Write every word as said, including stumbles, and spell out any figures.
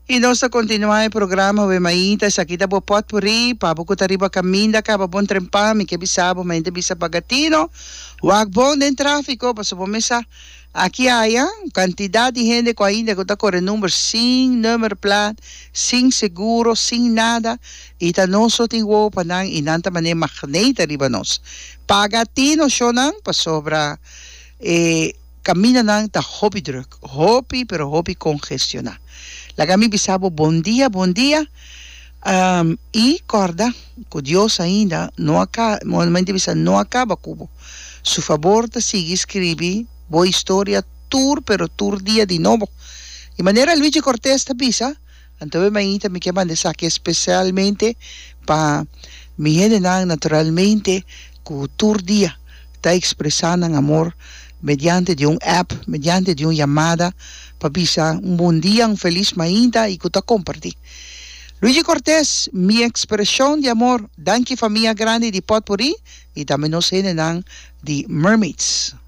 I nos ta kontinuá e programa We Mainta, esaki ta bo potpourri, pa bo ku ta riba kaminda kaba bon trempa, mi ke bisa bo mainta bisa paga tino, wak bon den tráfiko, pasobra bo mes sa aki aya kantidat di hende ku ainda ku ta kore number sin nummerplaat, sin seguro, sin nada, i ta nos so tin wowo pa nan i nan ta manera magneet riba nos. Paga tino shownan pasobra e kamindanan ta hopi drùk, hopi pero hopi kongestioná. Laga mi bisa bo bon dia, bon dia. Um, i kòrda ku Dios ainda no a bisa no a kaba ku bo. Su fabor ta sigui skirbi bo historia tur pero tur dia di nobo. I manera Luigi Cortez ta bisa, anto mainta mi ke manda esaki spesialmente pa mi hendenan naturalmente ku tur dia ta ekspresá nan amor mediante di un app, mediante di un yamada pa bisa un bon dia, un felis mainta i ku ta kompartí. Luigi Cortez, Mi ekspreshon di amor, danki famia grandi di Potpourri i tambe nos hendenan di Mermaids.